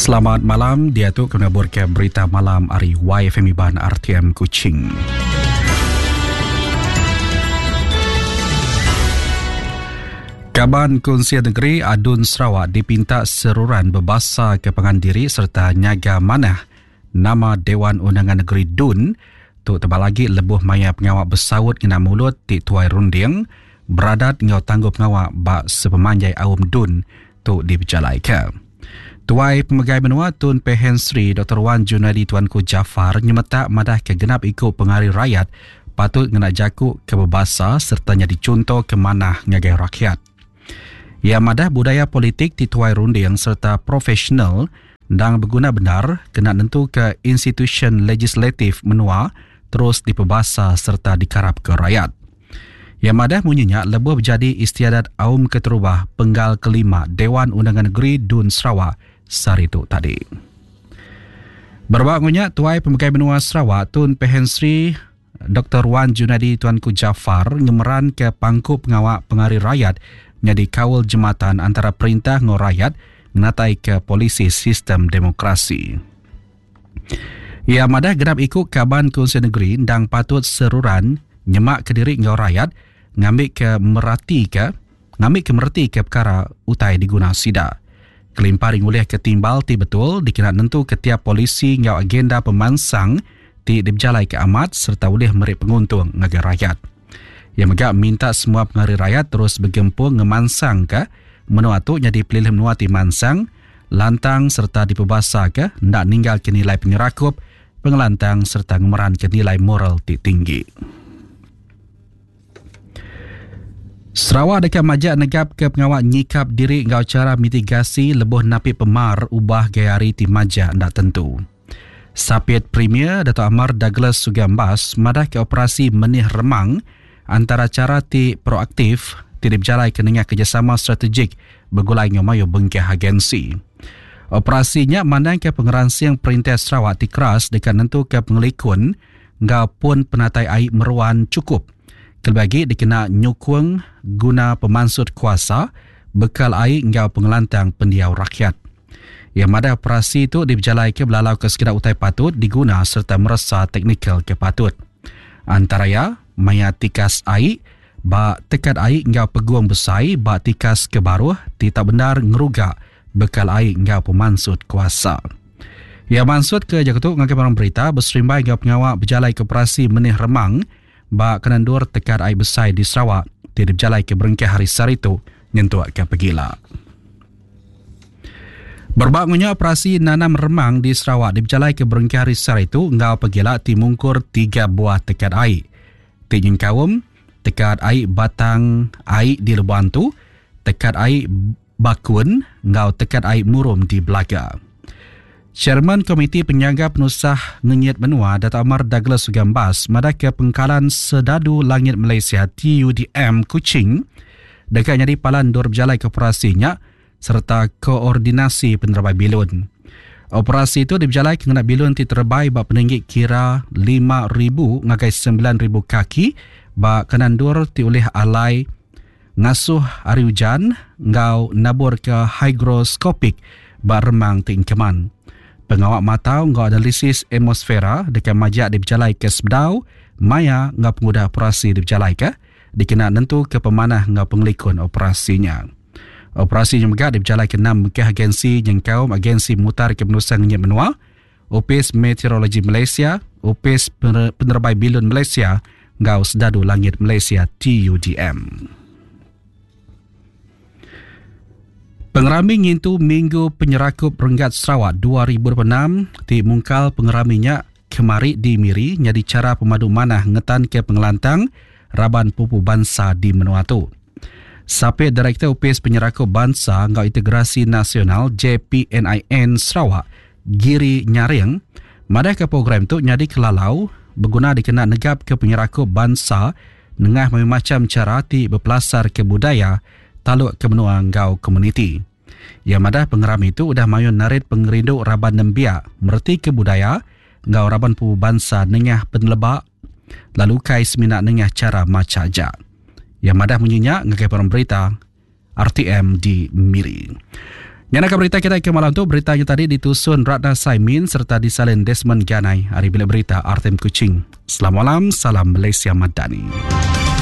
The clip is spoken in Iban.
Selamat malam, diatu kami naburka berita malam ari YFM Iban RTM Kuching. Kaban Kunsil Negeri Adun Sarawak dipinta seruran bebasa ke pangan diri sereta nyaga manah nama Dewan Undangan Negeri DUN tu tebal agi lebuh maya pengawa besaut ngena mulut ti tuai runding, beradat enggau tangguh pengawa ba sepemanjai aum DUN tu dipejalaika. Tuai Pemegai Menua Tun Pehin Sri Doktor Wan Junaidi Tuanku Jaafar nyemetak madahka genap iku pengari rayat patut ngena jaku ke bebasa sereta nyadi chunto ke manah ngagai rakyat. Iya madah budaya politik ti tuai runding sereta profesional endang beguna bendar kena nentuka institusyen legislatif menua terus dipebasa sereta dikarapka rayat. Iya madah munyi nya lebuh bejadi Istiadat Aum Keterubah Penggal Kelima Dewan Undangan Negeri Dun Sarawak sehari tu tadi. Berebak enggau nya, Tuai Pemegai Menua Sarawak Tun Pehin Sri Doktor Wan Junaidi Tuanku Jaafar ngemeranka pangku pengawa pengari rayat nyadi kaul jematan antara perintah enggau rayat ngenataika polisi sistem demokrasi. Iya madah genap iku kaban Kunsil Negeri endang patut seruran nyemakka diri enggau rayat ngambika meratika ngambika meretika pekara utai diguna sida. Kelimpah ari ngulihka timbal ti betul dikena nentuka tiap polisi enggau agenda pemansang ti dipejalaika amat sereta ulih meri penguntung ngagai rayat. Iya mega minta semua pengari rayat terus begempung ngemansangka menua tu nyadi pelilih menua ti mansang, lantang sereta dipebasaka enda ninggalka nilai penyerakup, pengelantang sereta ngemeranka nilai moral ti tinggi. Sarawak deka majak negapka pengawa nyikap diri enggau chara mitigasi lebuh napi pemar ubah gaya hari ti majak enda tentu. Sapit Premier Datuk Amar Douglas Sugambas madahka operasi Menih Remang antara chara ti proaktif ti dipejalaika nengah kerejasama strategik begulai enggau mayuh bengkah agensi. Operasi nya mandangka pengeransing Perintah Sarawak ti keras deka nentuka pengelikun enggau pun penatai ai meruan chukup kelebih agi dikena nyukung guna pemansut kuasa, bekal ai enggau pengelantang pendiau rakyat. Iya madah operasi tu dipejalaika belalauka sekeda utai patut diguna sereta meresa teknikal ke patut. Antara iya, maya tikas ai ba tekat ai enggau pegung besai ba tikas ke baruh ti tau bendar ngeruga bekal ai enggau pemansut kuasa. Iya mansutka jaku tu ngagai barang berita beserimbai enggau pengawa bejalaika operasi menih remang ba kena endur tekat ai besai di Sarawak ti dipejalaika berengkah hari sehari tu nyentuk ke pegila. Berebak enggau nya, operasi nanam remang di Sarawak dipejalaika berengkah hari sehari tu enggau pegila ti mungkur tiga buah tekat ai ti nyengkaum Tekat Ai Batang Ai di Lubok Antu, Tekat Ai Bakun enggau Tekat Ai Murum di Belaga. Chairman Komiti Penyaga Penusah Ngenyit Menua Datuk Amar Douglas Gambas madahka Pengkalan Sedadu Langit Malaysia TUDM Kuching deka nyadi palan endur bejalaika operasi nya sereta koordinasi penerebai bilun. Operasi tu dipejalaika ngena bilun ti terebai ba peninggi kira 5,000 ngagai 9,000 kaki ba kanan endur ti ulih alai ngasuh ari ujan enggau naburka hygroskopik ba remang ti engkeman. Pengawa matau enggau analisis atmosfera deka majak dipejalaika sebedau, maya enggau pengudah operasi dipejalaika dikena nentuka pemanah enggau pengelikun operasi nya. Operasi nya mega dipejalaika enam bengkah agensi nyengkaum Agensi Mutarka Penusah Ngenyit Menua, Opis Meteorologi Malaysia, Opis Penerebai Bilun Malaysia enggau Sedadu Langit Malaysia TUDM. Pengerami ngintu Minggu Penyerakup Renggat Sarawak 2026 ti mungkal pengerami nya kemari di Miri nyadi chara pemadu manah ngetanka pengelantang raban pupu bansa di menua tu. Sapit Direktor Opis Penyerakup Bansa enggau Integrasi Nasional JPNIN Sarawak, Giri Nyaring, madahka program tu nyadi kelalau beguna dikena negapka penyerakup bansa nengah mayuh macham chara ti bepelasarka budaya, talukka menua enggau komuniti. Iya madah pengerami tu udah mayuh narit pengerindu raban nembiak meretika budaya enggau raban pupu bansa nengah peneleba lalu ukai semina nengah chara macha aja. Iya madah munyi nya ngagai barang berita RTM di Miri. Nya naka berita kitai ke malam tu. Berita nya tadi ditusun Ratna Saimin sereta disalin Desmond Ganai ari Bilik Berita RTM Kuching. Selamat malam, salam Malaysia Madani.